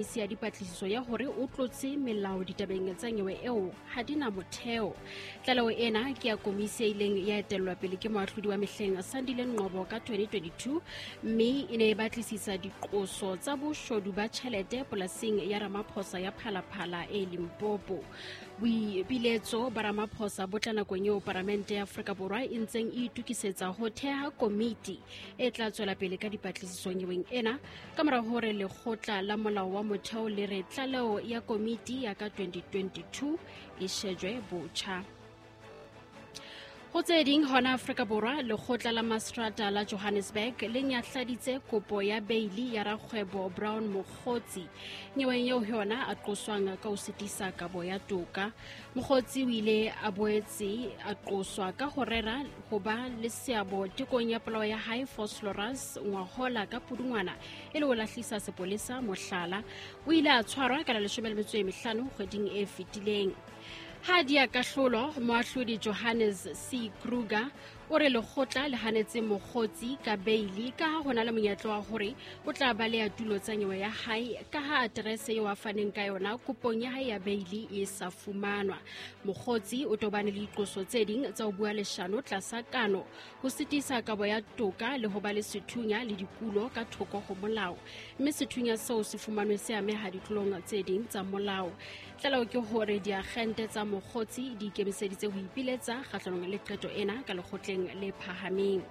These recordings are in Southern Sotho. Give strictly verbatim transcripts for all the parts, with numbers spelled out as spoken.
Ya dipatlisiso ya hore o tlotse melao ditabeng tsa nyewe eo ha di na motheo. Tlaleho ena ke ya komisi e ileng ya etellwa pele ke moahlodi wa mehleng Sandile Ngcobo ka twenty twenty-two, mme e ne e batlisisa diqoso tsa boshodu ba tjhelete polasing ya Ramaphosa ya Phalaphala e Limpopo. Boipiletso ba Ramaphosa bo tla nakong eo Palamente ya Afrika Borwa e ntseng e itokisetsa ho theha komiti e tla tswela pele ka dipatlisiso nyeweng ena ka mora hore lekgotla la molao wa motheo le re tlaleho ya komiti ya ka twenty twenty-two e shejwe botjha. Ho tse ding hona Afrika Borwa, lekgotla la Mastrata la Johannesburg le nyahladitse kopo ya beili ya rakgwebo Brown Mogotsi nyeweng eo yona a qoswang ka ho sitisa kabo ya toka. Mogotsi o ile a boetse a qoswa ka ho rera ho ba le seabo tekong ya polao ya hae Vosloorus ngwahola ka Pudungwana e le ho lahlisa sepolesa mohlala. O ile a tshwarwa ka la leshome le metso e mehlano kgweding e fetileng. Ha di a kahlolo, moahlodi Johannes C. Kruger o re lekgotla le hanetse Mogotsi ka beili ka ha ho na le monyetla wa hore o tla baleha tulo tsa nyewe ya hae ka ha aterese eo a faneng ka yona kopong ya hae ya beili e sa fumanwa. Mogotsi o tobane le diqoso tse ding tsa ho bua leshano tlasa kano, ho sitisa kabo ya toka le ho ba le sethunya le dikulo ka thoko ho molao, mme sethunya seo se fumanwe se ameha ditlolong tse ding tsa molao. Tlaleho ke hore diagente tsa Mogotsi di ikemiseditse ho ipiletsa kgahlanong le qeto ena ka lekgotleng le phahameng.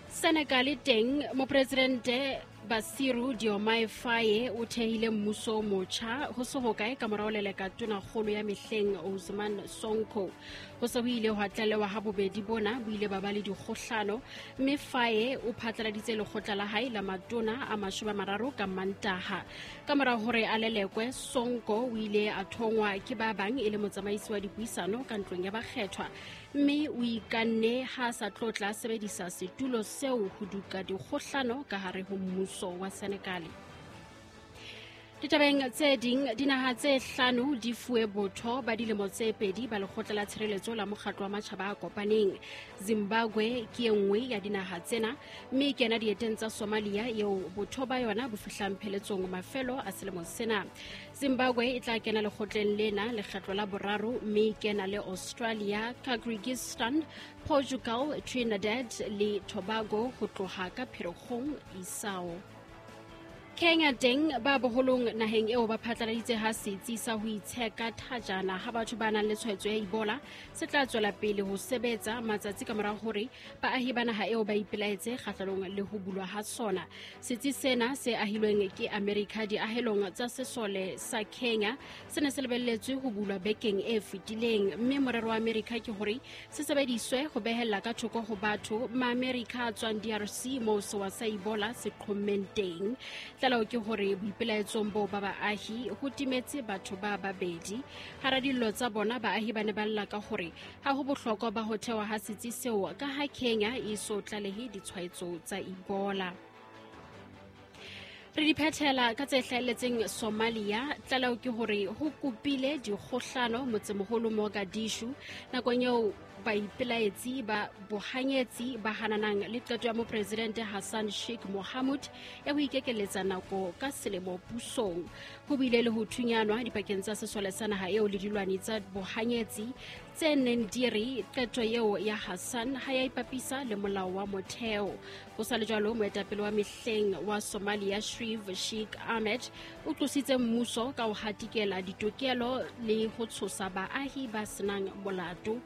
Senegal teng, mopresidente Bassirou Diomaye Faye o thehile mmuso o motjha ho se hokae ka mora ho leleka tonakgolo ya mehleng Ousmane Sonko. Ho se ho ile hwa tlalewa ha bobedi bona bo ile ba ba le dikgohlano, mme Faye o phatlaladitse lekgotla la hae la matona a mashome a mararo ka Mantaha. Ka mora hore a lelekwe, Sonko o ile a thongwa ke ba bang e le motsamaisi wa dipuisano ka ntlong ya bakgethwa, mme o ikanne ha sa tlo tla sebedisa setulo seo ho duka dikgohlano ka hare ho mmuso wa Senegal. Ditabeng tse ding, dinaha tse hlano di fuwe botho ba dilemo tse pedi ba lekgotla la tshireletso la mokgatlo wa matjhaba a kopaneng. Zimbabwe ke e nngwe ya dinaha tsena, mme e kena dieteng tsa Somalia eo botho ba yona bo fihlang pheletsong mafelo a selemo sena. Zimbabwe e tla kena lekgotleng lena lekgetlo la boraro, mme e kena le Australia, Kyrgyzstan, Portugal, Trinidad le Tobago ho tloha ka Pherekgong isao. Kenya teng, ba boholong naheng eo ba phatlaladitse ha setsi sa ho itsheka thajana ha batho ba nang le tshwaetso ya Ebola se tla tswela pele ho sebetsa matsatsi ka mora hore baahi ba naha eo ba ipelaetse kgahlanong le ho bulwa ha sona. Setsi sena se ahilweng ke America diahelong tsa sesole sa Kenya se ne se lebelletswe ho bulwa bekeng e fetileng, mme morero wa America ke hore se sebediswe ho behella ka thoko ho batho ma-America a tswang D R C moo sewa sa Ebola se qhommeng teng. Tlaleho ke hore boipelaetsong boo ba baahi ho timetse batho ba babedi. Hara dillo tsa bona, baahi ba ne ba lla ka hore ha ho bohlokwa ba ho thewa ha setsi seo ka ha Kenya e so tlalehe ditshwaetso tsa Ebola. Re di phethela ka tse hlahelletseng Somalia. Tlaleho ke hore ho kopile dikgohlano motsemoholo Mogadishu nakong eo baipelaetsi ba bohanyetsi ba hananang le qeto ya mopresidente Hassan Sheikh Mohamud ya ho ikekeletsa nako ka selemo pusong. Ho bile le ho thunyanwa dipakeng tsa sesole sa naha eo le dilwani tsa bohanyetsi tse neng di re qeto eo ya Hassan ha ya ipapisa le molao wa motheo. Ho sa le jwalo, moetapele wa mehleng wa Somalia Sharif Sheikh Ahmed o tlositse mmuso ka ho hatikela ditokelo le ho tshosa baahi ba senang molato.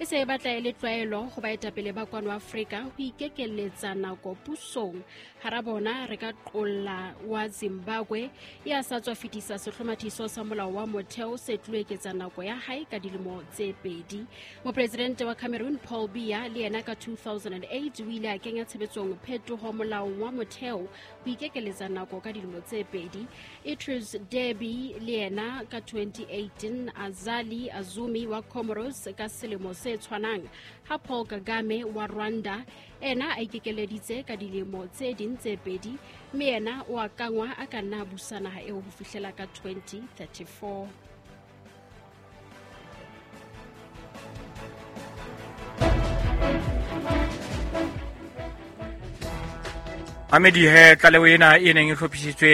E se e batla e le tlwaelo ho baetapele ba kwano Afrika ho ikekeletsa nako pusong. Hara bona re ka qolla wa Zimbabwe ya sa tswa fetisa sehlomathiso sa molao wa motheo se tlo eketsa nako ya hae ka dilemo tse pedi. Mopresidente wa Cameroon Paul Biya le yena ka two thousand eight o ile a kenya tshebetsong phetoho molaong wa motheo ho ikekeletsa nako ka dilemo tse pedi. Idris Deby le yena ka twenty eighteen, Azali Azumi wa Comoros ka selemo se tshwanang, ha Paul Kagame wa Rwanda ena a ikekeleditse ka dilemo tse ding tse pedi, mme yena o akangwa a ka nna busa naha eo ho fihlela ka twenty thirty-four. Amedi he tlaleho ena e neng e hlophisitswe